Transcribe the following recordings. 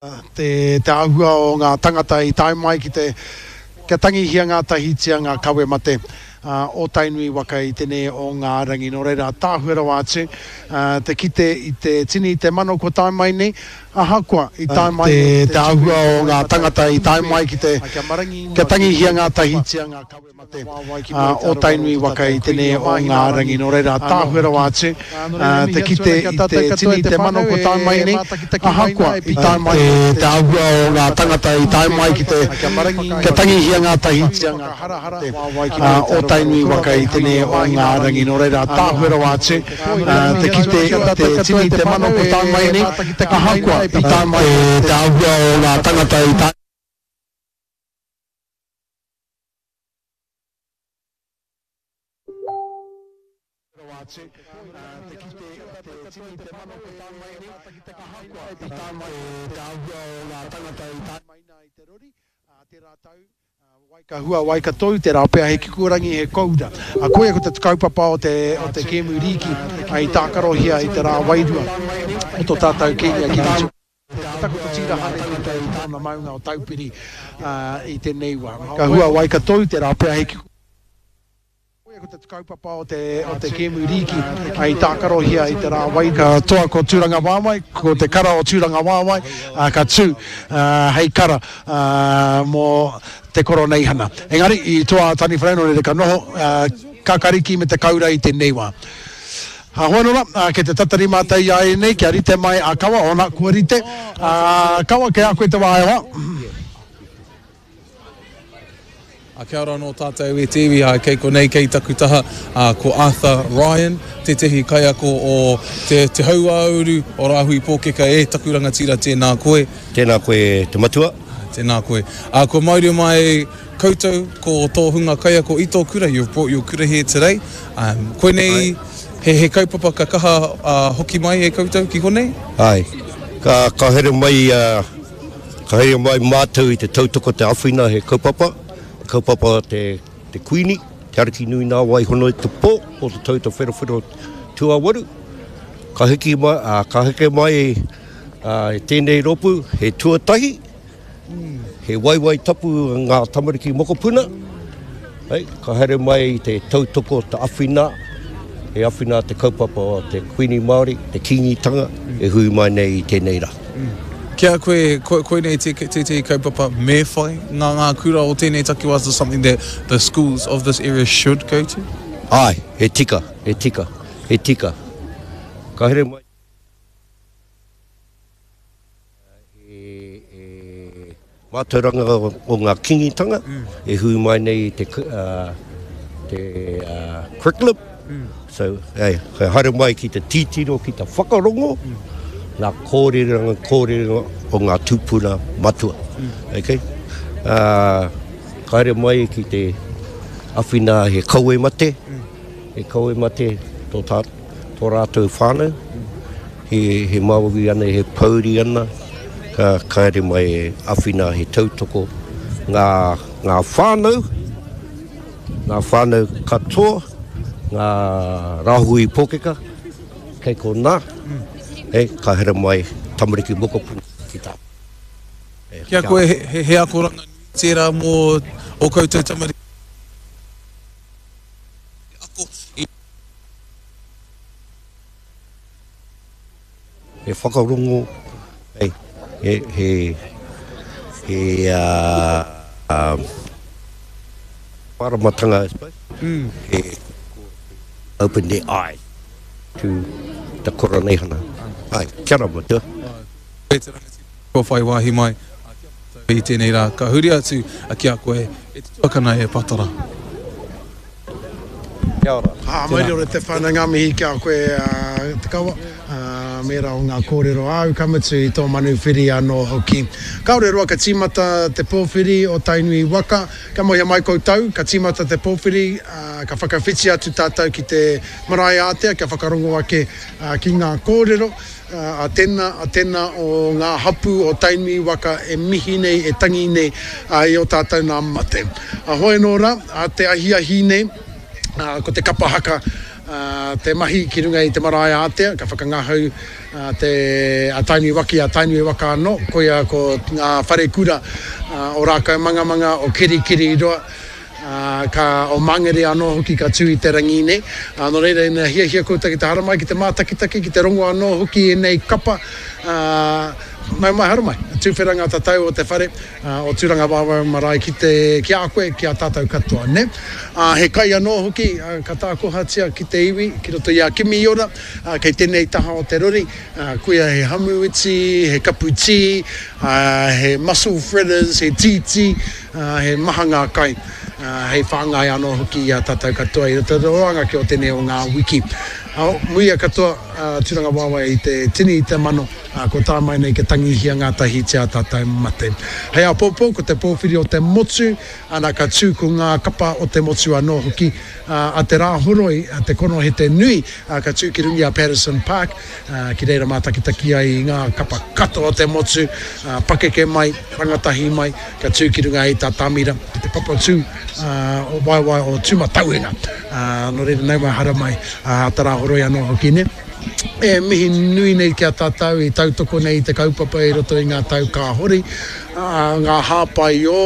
Te te āhua o ngā tangata i tae mai ki te kia tangihia ngātahitia ngā kawe mate o Tainui waka i tenei o ngā rangi. Nō reira, tāhua rawa atu te kite i te tini i te mano kua tae mai nei, ahakoa i tae mai nei te āhua o ngā tangata i tae mai ki te kia tangihia ngātahitia ngā kawe mate o Tainui waka i tenei o ngā rangi. Nō reira, tāhua rawa atu te kite i te tini i te mano kua tae mai nei, ahakoa i tae mai nei te āhua o ngā tangata i tae mai ki te kia tangihia ngātahitia ngā mate o Tainui waka i tenei o ngā rangi. Nō reira, tāhua rawa atu te kite i te tini i te mano kua tae mai nei, ahakoa i tae mai nei te āhua o ngā tangata i tae. Rawa atu te kite i te tini te mano ko tae mai nei, ahakoa i tae mai te āhua o ngā tangata i tae mai nā i te rori, ā, tērā tau, wai ka hua, wai ka tou, tērā pea he kikorangi, he koura. Ā, koia ko te kaupapa o te, o te kēmu rīki i tākarohia i te rā wairua o tō tātou Kīngi a Kingi Tū. Ka takoto tīraha nei koutou i tōna maunga o Taupiri i tēnei wā. Ka hua wai ka tou tērā pea he kiko. Koia ko te kaupapa o te, o te kēmu rīki i tākarohia i te rā wai. Ka toa ko Tūrangawaewae, ko te kara o Tūrangawaewae ka tū hei kara mō te Koroneihana. Engari, i toa a Taniwharau nō reira ka noho kakariki me te kaura i tēnei wā. Hoi nō rā, kei te tatari mātou i a ēnei kia rite mai a Kawa, ōna, kua rite. Kawa, kei a koe te wā e hoa. Kia ora anō tātou e te iwi, kei konei kei taku taha ko Arthur Ryan, tētehi kaiako o te, te Hauāuru o Rāhui Pōkeka e taku rangatira tēnā koe. Tēnā koe te matua. Tēnā koe. Ā, kua mauria mai koutou ko tō hunga kaiako i tō kura, you've brought your kura here today. Um, koinei, he, he kaupapa ka kaha uh, hoki mai e koutou ki konei? Ai. Ka, ka here mai, uh, ka here mai mātou i te tautoko te awhina he kaupapa, kaupapa te, te Kuini, te Ariki nui nā wai hono i te pō o te tau te wherowhero tuawaru. Ka hiki mai, uh, ka heke mai uh, tēnei rōpū, he tuatahi, He waiwai tapu ngā tamariki mokopuna, hei, ka haere mai te tautoko, te awhina, he awhina te kaupapa o te Kuini Māori, te Kīngitanga, e hui mai nei i tēnei rā. Ki a koe, koinei tētehi kaupapa me whai ngā ngā kura o tēnei takiwā, is this something that the schools of this area should go to? Āe, he tika, he tika, he tika. Ka haere mai. He mātauranga o ngā kingitanga e hui mai nei i te curriculum. So, hey, haere mai ki te titiro, ki te whakarongo, ngā kōreranga, kōrero o ngā tūpuna matua. Okay? Uh, ka haere mai ki te awhina he kawe mate, he kawe mate tō, tā, tō rātou whānau. He māori ana, he pouri ana, ka haere mai e awhina, he tautoko ngā, ngā whānau, ngā whānau katoa, ngā rāhui pōkeka, kei konā, e, ka haere mai tamariki mokopuna ki tā. E, Ki a koe, he, he akoranga nui tērā mō ō koutou tamariki ako i. He whakarongo, he, he, he, he, uh, māramatanga, I suppose. Mm. He open their eyes to the Koroneihana. Ai, kia ora matua. Koe te rangatira kua whai wāhi mai ki a mātou i tēnei rā. Ka huri atu ki a koe e te tuakana e Patara. Kia ora. Ā, mauri ora te whānau, ngā mihi ki a koe Te Kawa, me ērā o ngā kōrero āu, ka mutu i tō manuwhiri anō hoki. Kāore roa ka tīmata te pōwhiri o Tainui waka, kia mōhio mai koutou, ka tīmata te pōwhiri, ka whakawhiti atu tātou ki te marae ātea kia whakarongo ake ki ngā kōrero a tēnā, a tēnā o ngā hapū o Tainui waka e mihi nei, e tangi nei i ō tātou nā mate. Hoi anō rā, te ahiahi nei, ko te kapa haka. te mahi ki runga i te marae ātea, ka whakangahau te a Tainui Waki, a Tainui Waka anō, koia ko ngā wharekura o Rākaumangamanga, o Kirikiriroa, ka, o Mangere anō hoki ka tū i te rangi nei. Nō reira, ina hiahia koutou ki te haramai, ki te mātakitaki, ki te rongo anō hoki i ēnei kapa, nau mai, haramai. Tuwhera ngā tatau o te whare. O Tūrangawaewae marae ki te, ki a koe, ki a tātou katoa, nē? Ā, he kai anō hoki ka tākohatia ki te iwi, ki roto i a Kimiora, ā, kei tēnei taha o te rori, ā, koia he hamuiti, he kapu tī, ā, he mussel fritters, he tītī, ā, he maha ngā kai, ā, hei whāngai anō hoki i a tātou katoa i roto i te roanga ki o tēnei o ngā wiki. Ā, muia katoa, ā, Tūrangawaewae i te tini, i te mano. Ā, ko tā mai nei kia tangihia ngātahitia ā tātou mate. Hei āpōpō, ko te pōwhiri o te motu, ana ka tū ko ngā kapa o te motu anō hoki, ā, a te Rāhoroi, a te konohete nui, ā, ka tū ki runga i a Patterson Park, ā, ki reira mātakitaki ai i ngā kapa katoa o te motu, ā, pakeke mai, rangatahi mai, ka tū ki runga i tā Tāmira, ki te papatū, ā, o waewae o Tūmatauenga. Ā, nō reira, nau mai, haramai, ā, te Rāhoroi anō hoki, nē. E mihi nui nei ki a tātou i tautoko nei i te kaupapa i roto i ngā tau ka hori, ngā hāpai ō,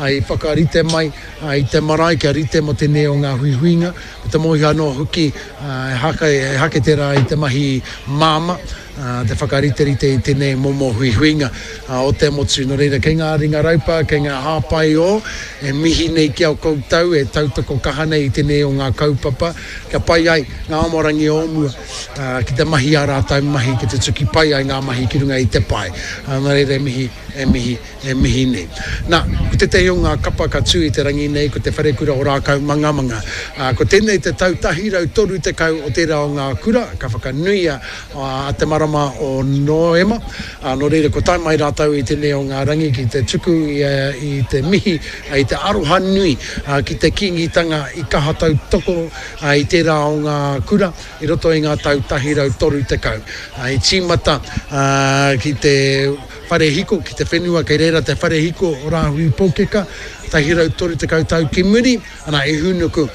i whakarite mai i te marae kia rite mō tēnei o ngā huihuinga, me te mōhio anō hoki ehake tērā i te mahi māmā, te whakariterite i tēnei momo huihuinga o te motu. Nō reira, kei ngā ringa raupa, kei ngā hāpai ō, e mihi nei ki a koutou e tautoko kaha nei i tēnei o ngā kaupapa, kia pai ai ngā amorangi o mua ki te mahi ā rātou mahi, ki te tuki pai ai ngā mahi ki runga i te pae. Nā reira e mihi, e mihi, e mihi nei. Nā, ko tētahi o ngā kapa ka tū i te rangi nei ko Te Wharekura o Rākaumangamanga. Ko tēnei te tau 130 o tērā o ngā kura ka whakanuia a te marama o Noema. Nō reira kua tae mai rātou i tēnei o ngā rangi ki te tuku i te mihi, i te aroha nui ki te Kīngitanga i kaha tautoko i tērā o ngā kura i roto i ngā tau 130. I tīmata ki te whare hiko, ki te whenua kei reira te whare hiko o Rāhui Pōkeka, 130 tau ki muri, ana i hūnuku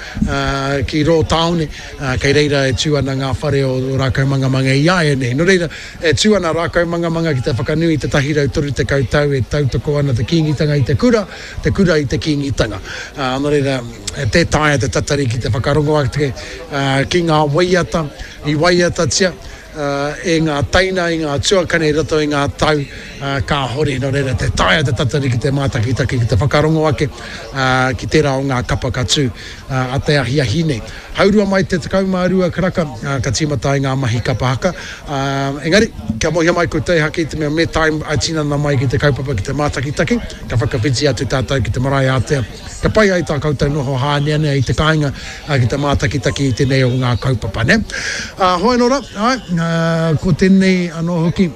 ki rō tāone, kei reira e tū ana ngā whare o Rākaumangamanga i āianei. Nō reira, e tū ana Rākaumangamanga ki te whakanui i te 130 tau e tautoko ana te Kīngitanga i te kura, te kura i te Kīngitanga. Nō reira, tē taea te tatari ki te whakarongo ake ki ngā waiata i waiatatia, e ngā teina, i ngā tuakana i roto i ngā tau kāhore. Nō reira, tē taea te tatari ki te mātakitaki, ki te whakarongo ake ki tērā o ngā kapa ka tū a te ahiahi nei. Haurua mai te 12 karaka ka tīmata ai ngā mahi kapa haka. Engari, kia mōhio mai koutou ehake i te mea me tae ā-tinana mai ki te kaupapa ki te mātakitaki, ka whakawhiti atu tātou ki te marae ātea. Kia pai ai tā koutou noho hāneanea i te kāinga ki te mātakitaki i tēnei o ngā kaupapa, nē? Hoi anō rā, āe, ko tēnei anō hoki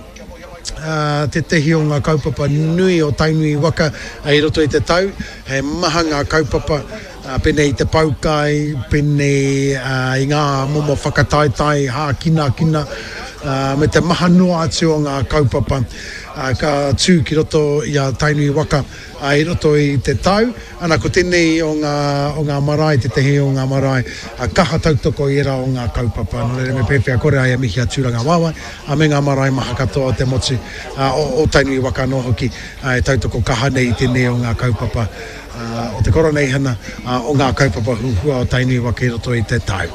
tētehi o ngā kaupapa nui o Tainui waka i roto i te tau. He maha ngā kaupapa pēnei i te poukai, pēnei i ngā momo whakataetae hākinakina, me te maha noa atu o ngā kaupapa ka tū ki roto i a Tainui waka. Ā, i roto i te tau, ana, ko tēnei o ngā, o ngā marae, tētehi o ngā marae kaha tautoko i ērā o ngā kaupapa. Nō reira, me pēwhea kore ai e mihi a Tūrangawaewae, ā, me ngā marae maha katoa o te motu, ā, o, o Tainui waka anō hoki, ā, e tautoko kaha nei i tēnei o ngā kaupapa, ā, o te Koroneihana, ā, o ngā kaupapa huhua o Tainui waka i roto i te tau.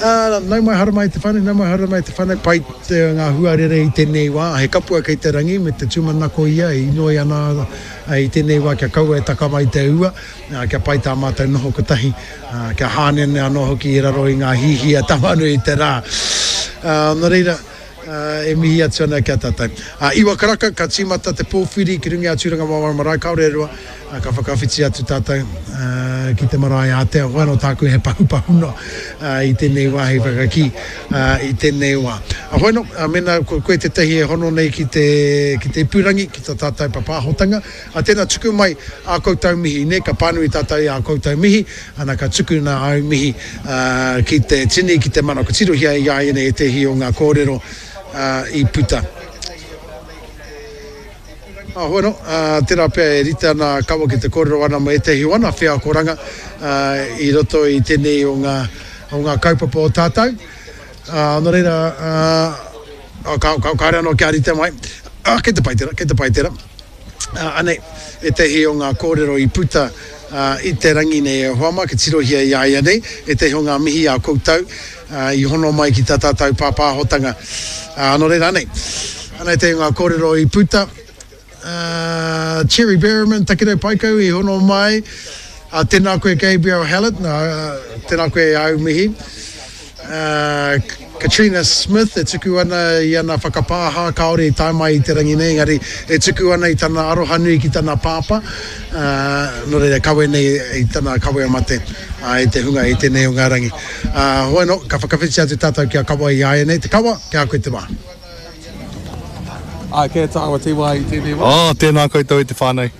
Ā, nau mai haramai te whānau, nau mai haramai te whānau, pai te, ngā huarere i tēnei wā, he kapua kei te rangi me te tūmanako ia e inoi ana i tēnei wā kia kaua e taka mai te ua, kia pai tā mātou noho kotahi, kia hāneanea anō hoki i raro i ngā hīhī a Tamanui i te rā. Nō reira, e mihi atu ana ki a tātou. Iwa karaka, ka tīmata te pōwhiri ki runga i a Tūrangawaewae Marae, kāore e roa, ka whakawhiti atu tātou ki te marae ātea. Hoi anō tāku he pahupahu noa i tēnei wā hei whakakī i tēnei wā. Hoi anō, mēnā ko koe tētahi e hono nei ki te, ki te ipurangi, ki tā tātou papāhotanga, tēnā tuku mai ā koutou mihi, nē, ka pānui tātou i ā koutou mihi, ana ka tukuna āu mihi ki te tini, ki te mana. Kua tirohia i āianei ētehi o ngā kōrero i puta. Hoi anō, tērā pea e rite ana a Kawa ki te kōrero ana mō ētehi o ana wheakoranga i roto i tēnei o ngā. o ngā kaupapa o tātou. Nō reira, ka, ka, kāore anō kia rite mai. Kei te pai tērā, kei te pai tērā. Anei ētehi o ngā kōrero i puta i te rangi nei e hoa mā, kia tirohia i a ia nei, ētehi o ngā mihi a koutou i hono mai ki tā tātou pāpāhotanga. Nō reira, anei, anei ētehi o ngā kōrero i puta. Cherry Berryman, Takirau Paekau i hono mai. Tēnā koe Gabriel Hallett, tēnā koe āu mihi. Katrina Smith e tuku ana i ana whakapāha, kāore i tae mai i te rangi nei, engari e tuku ana i tana aroha nui ki tana pāpā, nō reira kawe nei i tana kawea mate e te hunga i tēnei o ngā rangi. Hoi anō, ka whakawhiti atu tātou ki a Kawa i āianei. Te Kawa, ki a koe te wā. Āe, kei a tāua te wā i tēnei wā. Oh, tēnā koutou e te whānau.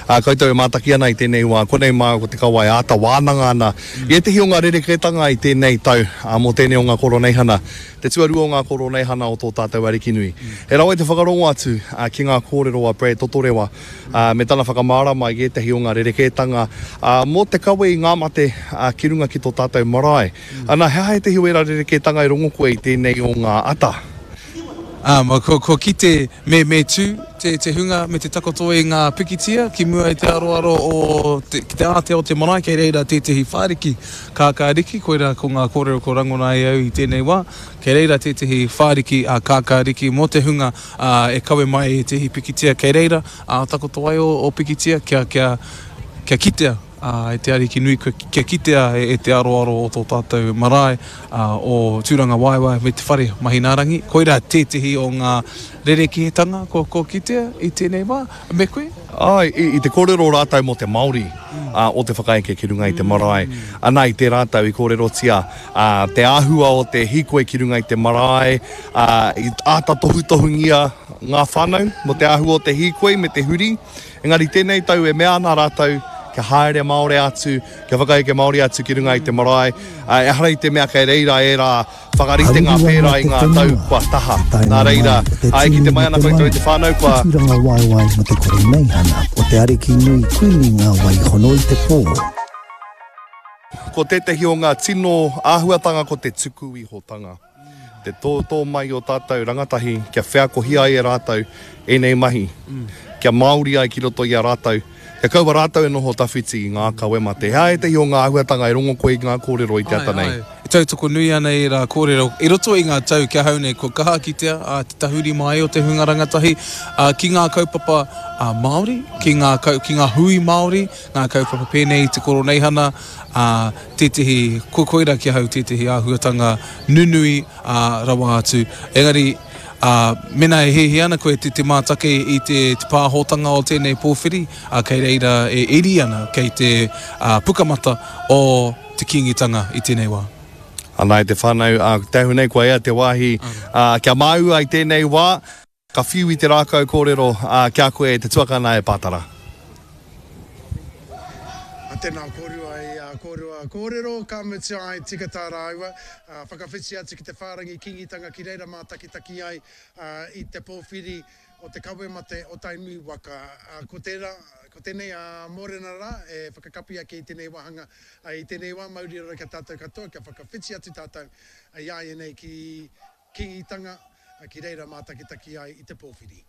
Ā, koutou e mātaki ana i tēnei wā, konei māua ko te kawa e āta wānanga ana i ētehi o ngā rerekētanga i tēnei tau, ā, mō tēnei o ngā Koroneihana, te tuarua o ngā Koroneihana o tō tātou Arikinui. He rawe te whakarongo atu, ā, ki ngā kōrero a Brad Totorewa, ā, me tana whakamārama i ētehi o ngā rerekētanga, ā, mō te kawe i ngā mate, ā, ki runga ki tō tātou marae. Ana, he aha ētehi o ērā rerekētanga i rongo koe i tēnei o ngā ata? Ā, kua, kua kite me, me tū te, te hunga me te takoto i ngā pikitia ki mua i te aroaro o te, ki te ātea o te marae, kei reira tētehi whāriki kākāriki, koirā ko ngā kōrero kua rangona e au i tēnei wā, kei reira tētehi whāriki ā, kākāriki mō te hunga, ā, e kawe mai i ētehi pikitia, kei reira, ā, takoto ai ō, ō pikitia kia, kia, kia kitea. Ā, e te Ariki nui, kia kitea e te aroaro o tō tātou marae, ā, o Tūrangawaewae me te whare Mahinaarangi. Koirā tētehi o ngā rerekētanga kua, kua kitea i tēnei wā. Me koe? Āe, i, i te kōrero rātou mō te Māori, ā, o te whakaeke ki runga i te marae. Ana, i tērā tau i kōrerotia, ā, te āhua o te hīkoi ki runga i te marae, ā, i āta tohutohungia ngā whānau mō te āhua o te hīkoi me te huri. Engari tēnei tau e mea ana rātou kia haere Māori atu, kia whakaeke Māori atu ki runga i te marae. Ehara i te mea kei reira ērā whakaritenga pērā i ngā tau kua taha. Nā reira, e kite mai ana koutou i te whānau kua. Tūrangawaewae mo te Koroneihana o te Ariki Nui Kuini Ngā Wai Hono i te Pō. Ko tētehi o ngā tino āhuatanga ko te tukuihotanga. Te tōtō mai o tātou rangatahi kia wheakohia ai e rātou ēnei mahi, kia Māori ai ki roto i a rātou, kia kaua rātou e noho tawhiti i ngā kawe mate. He aha ētehi o ngā āhuatanga e rongo koe i ngā kōrero i te ata nei? Āe, āe. E tautoko nui ana ērā kōrero. I roto i ngā tau ki ahau nei kua kaha kitea te tahuri mai o te hunga rangatahi ki ngā kaupapa Māori, ki ngā, ki ngā hui Māori, ngā kaupapa pēnei i te Koroneihana, ā, tētehi, ko koirā ki ahau tētehi āhuatanga nunui, ā, rawa atu. Engari, ā, mēnā e hiahia ana koe te, te mātaki i te, te pāhotanga o tēnei pōwhiri, ā, kei reira e iri ana, kei te, ā, pukamata o te Kīngitanga i tēnei wā. Ana e te whānau, ā, te ahu nei kua ea te wāhi, ā, kia māua i tēnei wā. Ka whiu i te rākau kōrero, ā, ki a koe e te tuakana e Pātara. Tēnā kōrua i ā kōrua kōrero, ka mutu ai tika tā rāua whakawhiti atu ki te whārangi Kīngitanga ki reira mātakitaki ai i te pōwhiri o te kawe mate o Tainui waka. Ko tērā, ko tēnei a Mōrena rā e whakakapi ake i tēnei wāhanga i tēnei wā, mauri ora ki a tātou katoa kia whakawhiti atu tātou i āianei ki Kīngitanga, ki reira mātakitaki ai i te pōwhiri.